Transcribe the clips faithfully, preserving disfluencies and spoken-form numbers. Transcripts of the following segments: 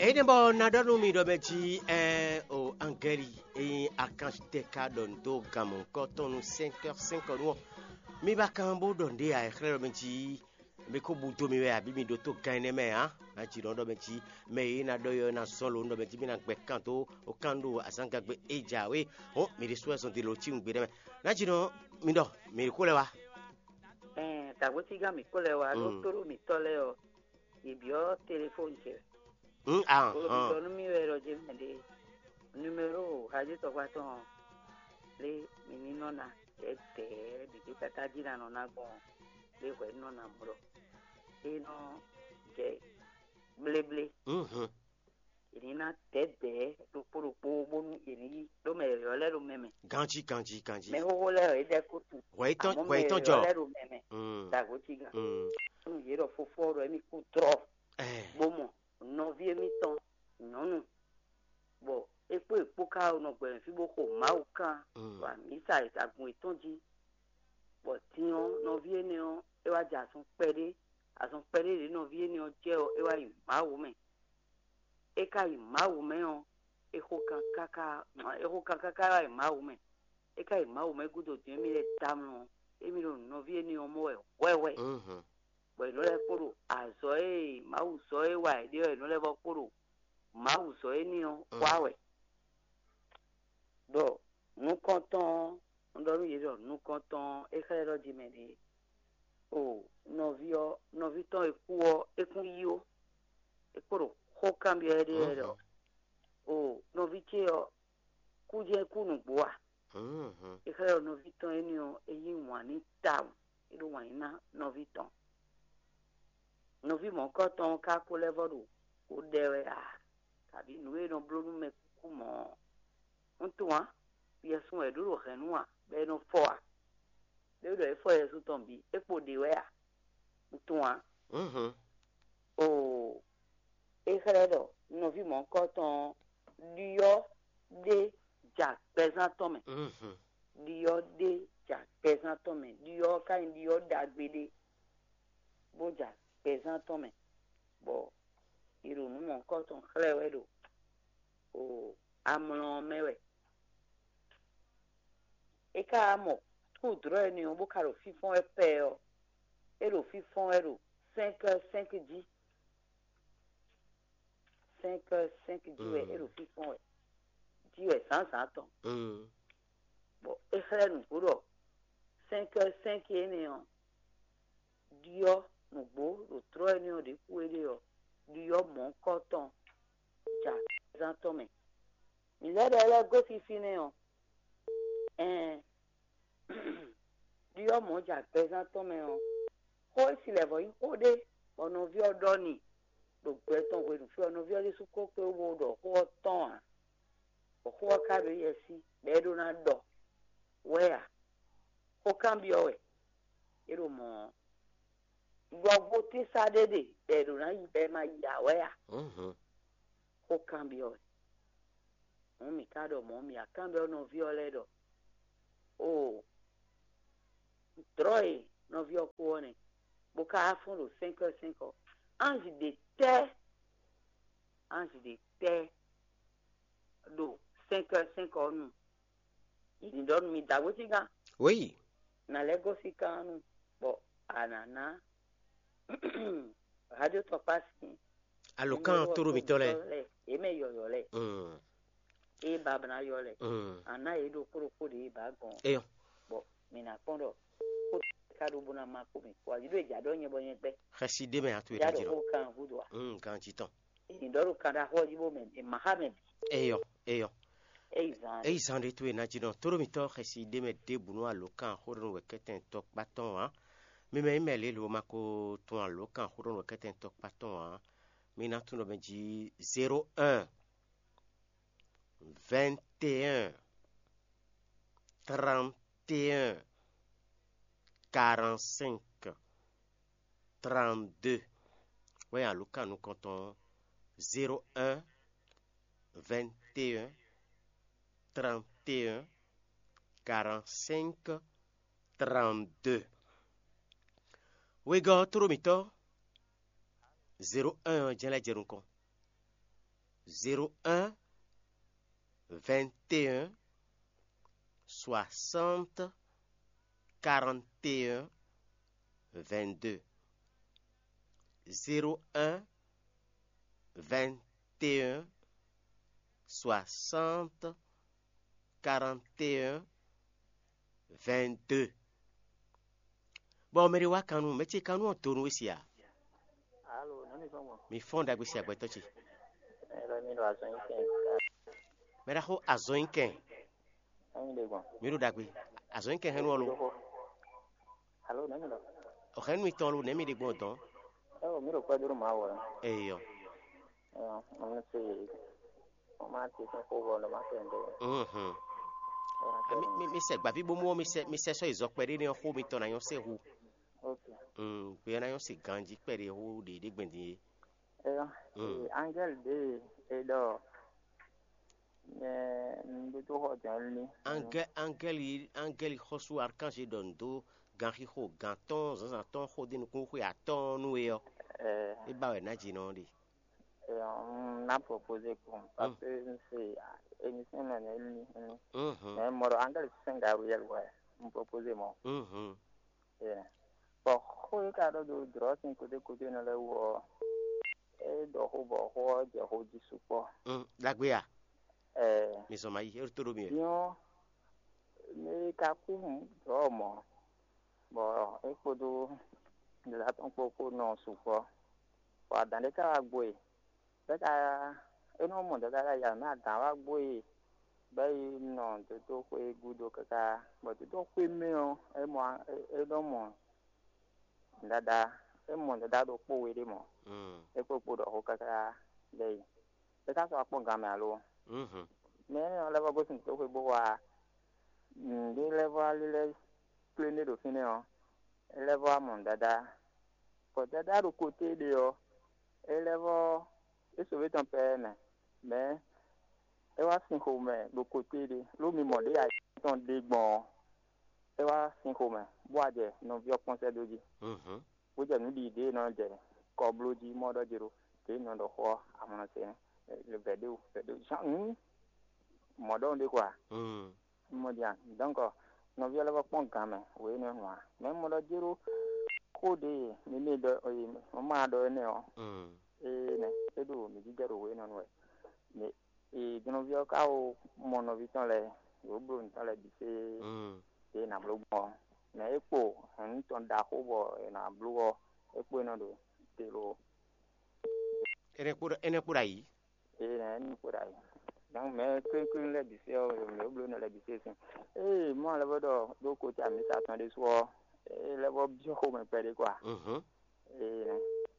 Énɛ́ bɔ ná ɖɔ nú mi ɖɔ mɛ jí ɛn o angɛli e nyí akánṣutɛ́ ka ɖɔ nǔ dó gan mɔ̌hunkɔtɔn nú sɛ́nkɛ́ sɛ́nkɔ nú ɔ́, mi ba kan bó ɖɔ nǔɖé ǎ, é xlɛ́ ɖɔ mɛ jí mi kó búdó mi wɛ abǐ mi ɖótó gan énɛ́ mɛ ǎ. Ná jǐ nɔ ɖɔ mɛ jí mɛ e ná ɖɔ yɔ ná zɔ́n lo nú ɖɔ mɛ jí mi ná gbɛ kan dó o kan ɖo azǎngagbe e jǎwe hɔn mi ɖésú wɛ zɔn ɖi lo cí nǔgbé ɖɛ́ mɛ. Ná jǐ nɔ mi ɖɔ mi xó lɛ́ wá. Ɛn, dǎgbócígán mǐ kó lɛ́ wá ɖó Mm. tóɖó mǐtɔn lɛ́ɛ ɔ́, yě byɔ́ telefóni ce wɛ. Mm, ah, Bó ɖɔ ah. Nú mì wɛ ɖɔ jɛ mɛ ɖe numéro hajitɔgba tɔn ɔ́, lé mi ní nɔ ná tɛ̌tɛ̌ ɖěɖé káká jí ná nɔ ná gbɔn lé hwɛ nɔ ná mɔ ɖɔ é nɔ jɛ bléblé. Mhm. È ní ná tɛ̌tɛ̌ ɖokpó ɖokpó bónú è ní yí ɖó mɛ yɔ̌yɔ́ lɛ́ɛ ɖo mɛ mɛ. Ganjí, ganjí, ganjí. Mɛ xóxó lɛ́ɛ ɔ́, é ɖɛ́ kó tu. Hwɛ yí tɔn, Àmọ́ hwɛ yí mɛ tɔn jɔ. Yɔ̌yɔ́ lɛ́ɛ ɖo mɛ mɛ. Mm. Dǎgbócígán. Mm. Nú yě ɖɔ fofó ɔ́ ɖɔ émí kú trɔ Eh. bó mɔ nɔví émítɔn nyɔ̌nu, bɔ é kpó è kpó ka ɔ́ nɔ gbɛmɛ fí bó xo Mawu kán Mm. ɖo amǐsa agun yětɔn jí, bɔ din ɔ́, nɔví énɛ́ ɔ́, é wá jɛ azɔn kpɛɖé, azɔn kpɛɖé ɖě nɔví énɛ́ ɔ́ jɛ ɔ́, é wá yi Mawu mɛ. É ka yi Mawu mɛ ɔ́, é xo kan káká, é xo kan káká wá yi Mawu mɛ. É ka yi Mawu mɛ gúdo din émí lɛ́ɛ tamlɔ ɔ́, émí ɖo nɔví énɛ́ ɔ́ mɔ wɛ hwɛhwɛ. Mhm. Bɔ è nɔ lɛ́ kpo ɖo azɔ̌ e Mawu zɔ́ é wa è ɖe ɔ́, è nɔ lɛ́ vɔ kpo ɖo Mawu zɔ́ énɛ́ ɔ́ Mm. wa wɛ. Bɔ nukɔntɔn ɔ́, un ɖɔ nú yě ɖɔ nukɔntɔn ɔ́, é xlɛ́ ɖɔ jí mɛ ɖě. O nɔví ɔ́, nɔví tɔn e kú ɔ́, é kún yí ó. É kpo ɖo xó kanbyɔ́ éɖée wɛ ɖɔ, Mhm. O nɔví ce ɔ́, kú jɛ́n kú nǔgbó a? Mhm. É xlɛ́ ɖɔ nɔví tɔn énɛ́ ɔ́, é yí wǎn n'i tawun, é ɖo wǎn yí ná nɔví tɔn. Nɔví mɔ̌kɔtɔn ɔ́ ka ko lɛ́ vɔ ɖo xó ɖɛ wɛ a, kabǐ nǔ e nɔ bló nú mɛ kúkú mɔ̌ ɔ́? Un tunwun ǎ, yɛsun wɛ é ɖó ɖo hɛ̌nnu ǎ, bɔ é nɔ fɔ ǎ. Ɖé ɖɔ é fɔ yɛsun tɔn bǐ, é kpo ɖě wɛ a? Un tunwun ǎ. Mhm. Oo, é xlɛ́ ɖɔ nɔví mɔ̌hunkɔtɔn ɔ́ ɖyɔ́ ɖé ja gbɛzán tɔn mɛ. Mhm. Ɖyɔ́ ɖé ja gbɛzán tɔn mɛ. Ɖyɔ́ ɔ́ ka nyí ɖyɔ́ ɖagbe ɖé, bó ja gbɛzán tɔn mɛ, bɔ è ɖo nǔ mɔ̌hunkɔtɔn xlɛ́ wɛ ɖo o amlɔ ɔ́ mɛ wɛ. É ka wá mɔ kúdlɔ́ énɛ́ ɔ́, bó ka ɖo fínfɔ́n wɛ pɛɛ ɔ́, é ɖo fínfɔ́n wɛ ɖo cinq heures cinq jí. Cinq heures cinq jí wɛ é ɖo fínfɔ́n wɛ, jí wɛ zǎnzǎn tɔn. Mm. Bɔ é xlɛ́ nǔgbó ɖɔ cinq heures cinq énɛ́ ɔ́, ɖyɔ́ nǔgbó ɖo tlɔ́ énɛ́ ɔ́ ɖě kú é ɖe ɔ́, ɖyɔ́ mɔ̌hunkɔtɔn ja zán tɔn mɛ. Mǐ lɛ́ ɖɔ é lɛ́ gosín fínɛ́ ɔ́, ɛɛn, ɖyɔ́ mɔ̌ ja gbɛzán tɔn mɛ ɔ́, xó e si lɛ̌ vɔ́ nyí xó ɖé bɔ nɔví ɔ́ ɖɔ n'i ɖo gbɛ tɔn hwenu fí ɔ́, nɔví ɔ́ ɖésú ko kpé wú bó ɖɔ xó ɔ́ tɔn ǎ, bɔ xó ɔ́ ka ɖo éyɛ́ sí, bɔ é ɖó ná ɖɔ wɛ ǎ. Xó kanbyɔ́ wɛ é ɖo mɔ̌ ɔ́, ɖɔ gbótínsá ɖé ɖe bɔ è ɖǒ ná yi bɔ è ma yi ǎ wɛ a? Mhm. Xó kanbyɔ́ wɛ. Hǔn mǐ ka ɖɔ mɔ̌, mǐ wá kanbyɔ́ nɔví ɔ́ lɛ́ɛ ɖɔ: Oo, dlɔ̌ e nɔví ɔ́ kú ɔ́ nɛ, bó ka wá fɔ́n ɖo sɛ́nkɔ́ sɛ́nkɔ́. Anji ɖě tɛ́, anji ɖě tɛ́ ɖo sɛ́nkɔ́ sɛ́nkɔ́ ɔ́ nu? Yě ní ɖɔ nú mi dǎgbócígán. Oui. Nǎ lɛ́ gosín kan nu, bɔ a nǎ ná radio tɔkpá sín Alǒkan numéro ɔ́ tóɖó mǐtɔn lɛ́ɛ. Yě mɛ yɔ̌yɔ́ lɛ́ɛ. Mm. Ée ba ná yɔ lɛ́ɛ. Mm. A ná yě ɖo kpóɖokpó ɖě e ba gɔn. Eyɔ́. Bɔ mǐ ná kpɔ́n ɖɔ kó ka ɖó bó ná má kó mǐ kpó ayi ɖó è jǎ ɖɔ nyɛ bɔ nyɛ gbɛ. Xɛsi ɖé mɛ a tu é já ɖo ɖajì nɔ. Xó kan gúdo a? Mm, ganjí tɔn. È nǐ ɖɔ ɖo kan ɖaxó ɔ́ jí bó mɛ è má xá mɛ bǐ. Eyɔ́, eyɔ́. Eyi zan. Eyi zan ɖé towe ná jí nɔ. Tóɖó mitɔn xɛsi ɖé mɛ ɖěbǔ nú alǒkan xóɖɔnú wɛ̌kɛ́tɛn tɔkpá tɔn ǎ. Mi mɛ nyí mɛ lě lo ma ko tunwun alǒkan xóɖɔnú wɛ̌kɛ́tɛn tɔkpá tɔn ǎ. Mi ná tunwun ɖɔ mɛ jí zéro un, vingt et un, trente et un, quarante-cinq, trente-deux. Wɛ alǒkan nukɔntɔn zéro un, vingt et un, trente et un, quarante-cinq, trente-deux. Wegɔ́ tló mǐtɔn zéro un ɔ́ jɛ́n lɛ́ jɛ nukɔn. Zéro un, vingt et un, soixante, quarante et un, vingt-deux. Zéro un, vingt et un, soixante, quarante et un, vingt-deux. Bɔ mɛ ɖé wá kan nú mɛ ce kan nú ɔ́ donu we sia. Alo, nɔ́ mi fɔ́n gbɔn. Mi fɔ́n ɖagbe si agbɛtɔ ce. Ɛ lɔ mi ɖo azɔn nyi kɛn. Mɛ ɖaxó azɔn nyi kɛn. Nɔ́ mi ɖe gbɔn. Mi ɖo ɖagbe. Azɔn nyi kɛn hɛn nú ɔ́ lo. Alo, nɔ́ mi ɖɔ. Ɔhɛn nú mitɔn lo nɛ̌ mi ɖe gbɔn dɔn. Ɛ o, mi ɖo kpɛ́ dó ɖo Mawu wɛ. Eyɔ. Ɛ, ɔn se. Ɔn ma ti sɛn xó bɔ ɔn ma sɛn dó. Mhm. Mi mi mi sɛ gbaví bó mɔ mi sɛ mi sɛ sɔ izɔ kpɛɖé nɛ xó mitɔn na nyɔ se hu. Ok. Mm, gbé na nyɔ se ganji kpɛɖé hu ɖe ɖe gbɛndin yé. Ɛ, angɛli ɖe e ɖɔ mɛ nɖótó xɔ jɛn ní. Angɛ angɛli angɛli xɔsu arkanji ɖɔ ndo ganxixo gan tɔn zanzan tɔn xó ɖe nukún xwe atɔn nú we ɔ. Ɛ, E ba wɛ na dzi nɔ ɖe. ɛ, un ná proposer kpɔn parce que n se émission nɔ nɛ ní ní. Mhm. Mɛ mɔ ɖɔ angɛli sɛn Gabriel wɛ un proposer mɔ. Mhm. Ɛ, bɔ xó e ka ɖɔ do drɔ sin kote kote nɔ lɛ wɔ ɔ, e ɖɔ xó bɔ xó ɔ jɛ xó jí sukpɔ. Mm, ɖagbe ya. Ɛ, Mi zɔn ma yi e to ɖo mi wɛ. Nyɔ mɛ ka kú drɔ mɔ bɔ e kpódó ɖěla tɔn kpó kó nɔ sukpɔ. Bɔ adǎn ɖé ka wá gbo e, bɛ ka e nɔ mɔ dɔ̌ ka ya mɛ adǎn wá gbo e, bɛ yi nɔ dódó xwé gúdo káká. Bɔ dódó xwé mɛ ɔ́, e mɔ e nɔ mɔ dada e mɔ dada ɖokpó we ɖé mɔ. Mm. É kpó kpo ɖɔ xó káká ɖ'é yi. É ka sɔ́ akpɔ́n gan mɛ alo? Mhm. Mɛ énɛ́ ɔ́ lɛ́ vɔ́ gosín toxo xwé bó wá nǔɖé lɛ́ɛ vɔ́ wá lílɛ́ kplé ɖé ɖo fínɛ́ ɔ́, é lɛ́ vɔ́ wá mɔ nǔ dáadáa. Bɔ dáadáa ɖo koté ɖé ɔ́, é lɛ́ vɔ́ é sǒvé tɔn pɛ́ mɛ, mɛ̌ é wá sin xomɛ ɖo koté ɖé, ló mi mɔ ɖě ayǐ tɔn ɖe gbɔn ɔ́, é wá sin xomɛ, bó wá jɛ nɔví ɔ́ kpɔ́n sɛ́ dó jí. Mhm. Bó jɛ nǔ ɖi ɖě e nɔ jɛ kɔ bló jí mɔ ɖɔ jero ɖě e nɔ ɖɔ xó ɔ́ amlɔ se nɛ́ vɛ̌ ɖé o vɛ̌ ɖé o zan nǔ mɔ̌ ɖɔhun ɖé kɔ a? Mm. Mɔ dia donc nɔví ɔ́ lɛ́ vɔ kpɔ́n gǎn mɛ wě nɔ nɔ a? Mɛ mɔ ɖɔ jero xó ɖě e mi mɛ ɖɔ mɔ ma ɖɔ énɛ́ ɔ́, Mm. ée nɛ́ é ɖo mǐ jijɛ ɖo wě nɔ nɔ wɛ. Mɛ ee jɔnɔví ɔ́ ka wo mɔ nɔví tɔn lɛ́ɛ, yě wǒ bló nǔ tɔn lɛ́ɛ bǐ fée. Mm. Ɖě è nǎ bló gbɔn ɔ́, mɛ é kpo hɛ̌nnu tɔn ɖaxó bɔ è nǎ bló ɔ́, é kpo é nɔ ɖo te lo. Énɛ́ kpo ɖo énɛ́ kpo ɖo ayǐ. Eye nɛ é nɔ kpo ɖo ayǐ. Donc mɛ klínkín lɛ́ɛ bǐ fée ɔ́, mɛ é bló nɔ lɛ́ɛ bǐ fée sín. Ée mɔ alɛ vɔ ɖɔ ɖó kotí amǐsa tɔn ɖésú ɔ́, é lɛ́ vɔ byɔ́ xomɛ kpɛɖé kɔa. Mhm. Eye nɛ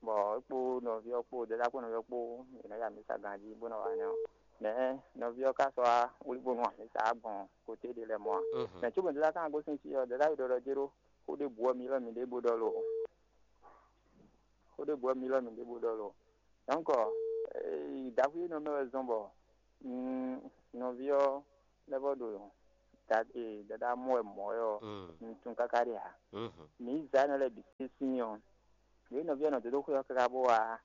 bɔ é kpo nɔví ɔ́ kpo dada kpo nɔví ɔ́ kpo è nɔ yi amǐsa ganjí bó nɔ wa nɛ ɔ́. Mɛ nɔví ɔ́ ka sɔ́ wá wlí bónú amǐsa gbɔn koté ɖé lɛ́ɛ mɔ a. Mhm. Mɛ cóbɔ dada kan gosín fí ɔ́, dada yi ɖɔ ɖɔ jéró xó ɖěbǔ ɔ́ mi lɔ mǐ ɖe bó ɖɔ lo. Xó ɖěbǔ ɔ́ mi lɔ mǐ ɖe bó ɖɔ lo. Donc ɖaxú énɛ́ mɛ wɛ zɔ́n bɔ nɔví ɔ́ lɛ́ vɔ ɖo dada mɔ wɛ mɔ̌ wɛ ɔ́, Mm. un tunwun káká ɖe ǎ. Mhm. Mǐ zǎ nɔ lɛ́ɛ bǐ sín sín ɔ́, ɖě nɔví ɔ́ nɔ dó dó xwé ɔ́ káká bó wá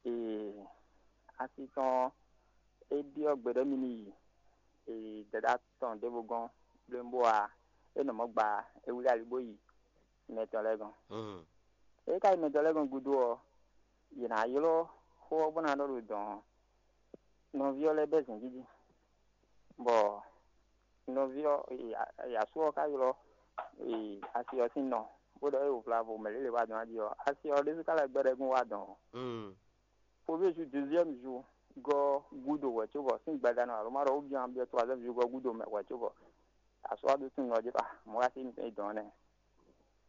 ee asi tɔn ɔ́, é ɖyɔ́ gbe ɖɔ mì ní yi ee dada tɔn ɖěvo gɔ́n blémbó ǎ. É nɔ mɔ̌ gba é wlí ali bó yi mɛ tɔn lɛ́ɛ gɔ́n. Mhm. É ka yi mɛ tɔn lɛ́ɛ gɔ́n gúdo ɔ́, yě ná ylɔ́ xó ɔ́ bó ná ɖɔ ɖo dɔ̌n ɔ́, nɔví ɔ́ lɛ́ bɛ́ zǐngídi, bɔ nɔví ɔ́ e, e, asú ɔ́ ka ylɔ́ e, asi ɔ́ sín nɔ, bó ɖɔ é wǒ vlavo mɛ lě lě wá dɔn jí ɔ́, asi ɔ́ ɖésú ka lɛ́ gbɛ́ ɖɛ́gún wá dɔ̌n ɔ́. Mm. Fo bie ju deuxième jour gɔ́ gúdo wɛ cóbɔ sín gbadanu alo má ɖɔ wú bia bia troisième jour gɔ́ gúdo mɛ wɛ cóbɔ asú wá ɖó tún nɔ jí pa mɔ̌ wá sí mi dɔn nɛ.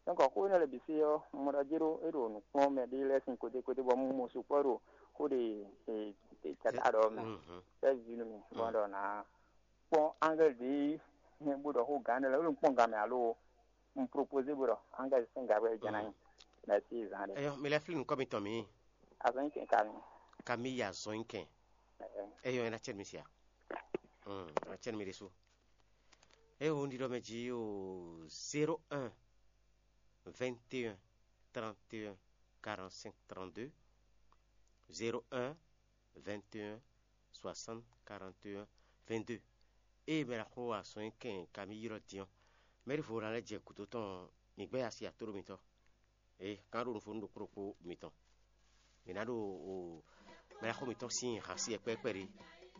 Donc xó énɛ́ lɛ́ɛ bǐ fí ɔ́, un mɔ ɖɔ jé ɖó é ɖo nǔ kplɔ́n mɛ ɖé lɛ́ɛ sín koté koté bɔ un mɔ sukpɔ́ ɖo xó ɖe e e tata ɖɔ mɛ. Mhm. Fɛ́ vi nú mi bɔ un ɖɔ nǎ kpɔ́n angɛ́l ɖě nyɛ bó ɖɔ xó gǎn ɖé lɛ́ɛ, é ɖo un kpɔ́n gǎn mɛ alo un propozé bó ɖɔ angɛ́l sín gǎ wɛ jɛ́n ná nyí. Mɛ̌si zǎn ɖé. Eyɔ, mi lɛ́ flí nǔkɔ mitɔn mǐ. Azɔn nyi kɛn ka mi. Ka mi yi azɔn nyi kɛn. Ɛɛ. Eyɔ, é ná cɛ́ nú mi sia. Mm, é ná cɛ́ nú mi ɖésú. É wo un ɖiɖɔ mɛ jí o zéro un vingt et un trente et un quarante-cinq trente-deux, zéro un vingt et un soixante quarante et un vingt-deux. Ée mɛ ɖaxó azɔn nyi kɛn ka mì ylɔ́ din ɔ́, mɛɖevo ná lɛ́ jɛ gǔdo tɔn ɔ́, mǐ gbɛ́ asi atóɖó mitɔn. Ee, kan ɖo nǔ fó nú ɖokpó ɖokpó mitɔn. Mǐ ná ɖo mɛ ɖaxó mitɔn sín hǎn sí wɛ kpɛ́kpɛ́ ɖé.